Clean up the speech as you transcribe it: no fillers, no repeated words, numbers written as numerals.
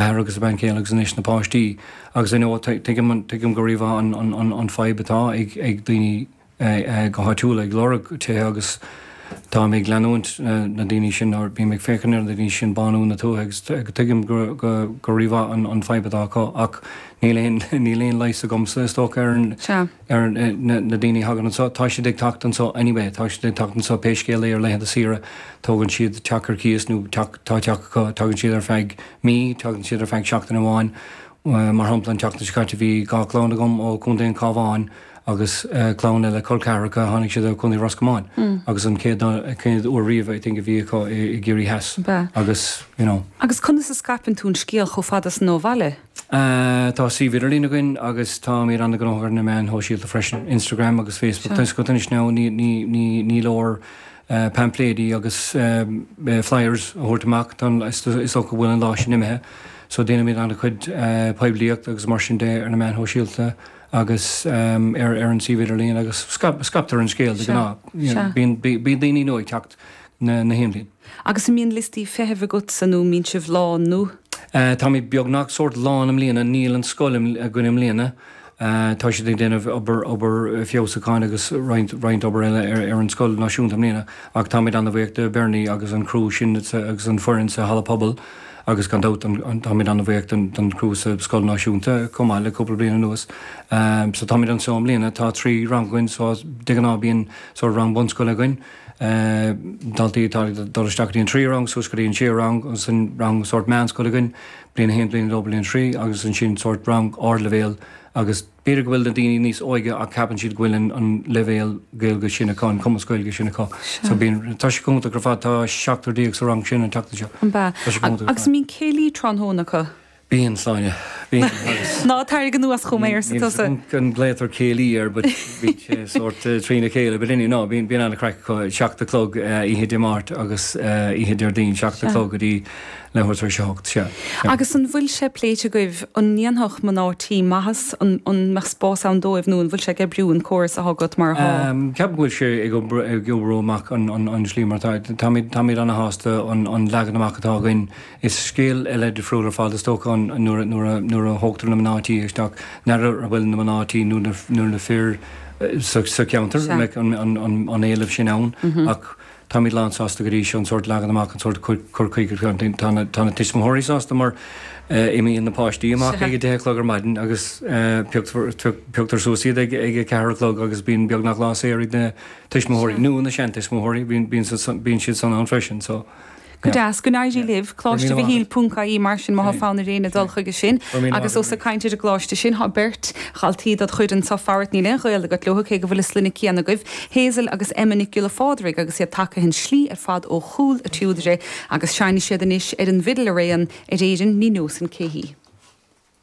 Athair agus a bean chéile agus anois na páistí agus I know tuigim tuigim go rímhaith an an an fadhb atá ag ag daoine go háitiúil ag lorg tithe agus táim ag leanúint na daoine sin nó bím ag féachaint ar na daoine sin bánú na tuaithe agus tuigim go go go rímhaith an an fadhb atá acu ach níl aon níl aon leigheas agamsa is dócha ar an ar na daoine a thagann anseo. Tá siad ag teacht anseo anyway, tá siad ag teacht anseo pé scéal é ar laethanta saoire, tógann siad teach ar cíos nó teach, tá teach acu, tagann siad ar feadh mí, tagann siad ar feadh seachtain amháin. Mar shampla, an tseachtain seo caite bhí 2 chlann agam ó Chontae an Chabháin agus clann eile col ceathracha, tháinig siad ó Chontae Ros Comáin agus an chéad chéad uair riamh I think a bhí acu i gCiarraí Theas agus you know. Agus conas a scaipeann tú an scéal chomh fada san ó bhaile? Tá suíomh idirlín againn agus táimid an-ghnóthach ar na meáin shóisialta freisin, Instagram agus Facebook. Tá a fhios agat anois now ní leor paimfléidí agus flyers a thabhairt amach, is dócha go bhfuil an lá sin imithe. So déanaimid an-chuid poiblíocht agus mar sin de ar na meáin shóisialta agus ar an suíomh idirlín agus scaiptear an scéal de ghnáth. Bíonn daoine nua ag teacht na haon bhliain. Agus an mbíonn liostaí feithimh agatsa nó an mbíonn sibh lán nó? Táimid beagnach sórt lán i mbliana, níl an scoil againn i mbliana. Tá siad ag déanamh obair, obair feabhsúcháin agus roinnt, roinnt obair eile ar, ar an scoil náisiúnta i mbliana ach táimid an-bhuíoch de Bernie agus an criú sin agus an foireann sa halla pobail agus gan dabht an, táimid an-bhuíoch don, don chriú sa scoil náisiúnta chomh maith le cúpla bliain anuas. So táimid anseo i mbliana, tá 3 rang againn so de ghnáth bíonn sórt rang bunscoile againn. daltaí atá ag dul isteach go dtí an tríú rang, suas go dtí an séú rang, agus an rang sórt meánscoile againn, bliain 1, bliain 2, bliain 3, agus ansin sórt rang ardleibhéal agus b'fhéidir go bhfuil na daoine níos óige ach ceapann siad go bhfuil an an leibhéal Gaeilge sin acu, an cumas Gaeilge sin acu. So bíonn, tá sé go hiontach ar fad, tá 17 sa rang sin an tseachtain seo. An bea? Tá sé go hiontach ar fad. Agus an mbíonn céilí tráthnóna acu? Bíonn, Sláine. Bíonn, agus. Ná tarraing anuas chugam é, arsa tusa. Níl 's agam an nglaotar céilí air but bíonn sé sórt trína chéile. But anyway, no, bíonn, bíonn an-chraic acu. 7 a chlog oíche Dé Máirt agus oíche Déardaoin, 7 a chlog go dtí leathuair tar éis a hocht, sea. Sea. Agus an bhfuil sé pléite agaibh, an ndéanfadh mná tí maitheas, an, an mbeadh spás ann dóibh nó an bhfuil sé ag oibriú an córas atá agat mar atá? Ceapaim go bhfuil sé ag oibriú, ag oibriú amach an, an, an slí mar atá. Táimid, táimid ana-shásta an, an leagan amach atá againn. Is scéal eile difriúil ar fad is dócha an nuair a nuair a thógtar na mná tí isteach, n'fheadar an bhfuil na mná tí nó na nó na fir sa sa cheantar an mbeadh an an an an éileamh sin ann ach táimid lán sásta go dtí seo an sórt leagan amach an sórt cur chuige tá na tá na tuismitheoirí sásta mar imíonn na páistí amach ag a 10 a chlog ar maidin agus pioctar pioctar suas iad ag ag a 4 a chlog agus bíonn beagnach lá saor ag na tuismitheoirí nó na seantuismitheoirí bíonn bíonn siad san ann freisin so. Go deas. Go n-éirí libh. Coláiste Mhichíl ponc ie mar sin má thá fonn ar éinne dul chuige sin. Agus ós ag caint ar an gcoláiste sin, thá beirt dhaltaí dod chuid anso farat, níl aon ghaol agat leo cé go bhfuil an sloinne céanna agaibh, Hazel agus Emma Nic Giolla Phádraig agus iad tagtha an slí ar fad ó Chúil a' tSúdaire agus seinnfidh siad anois ar an bhfidil araon ar Éirinn ní neosainn cé hí.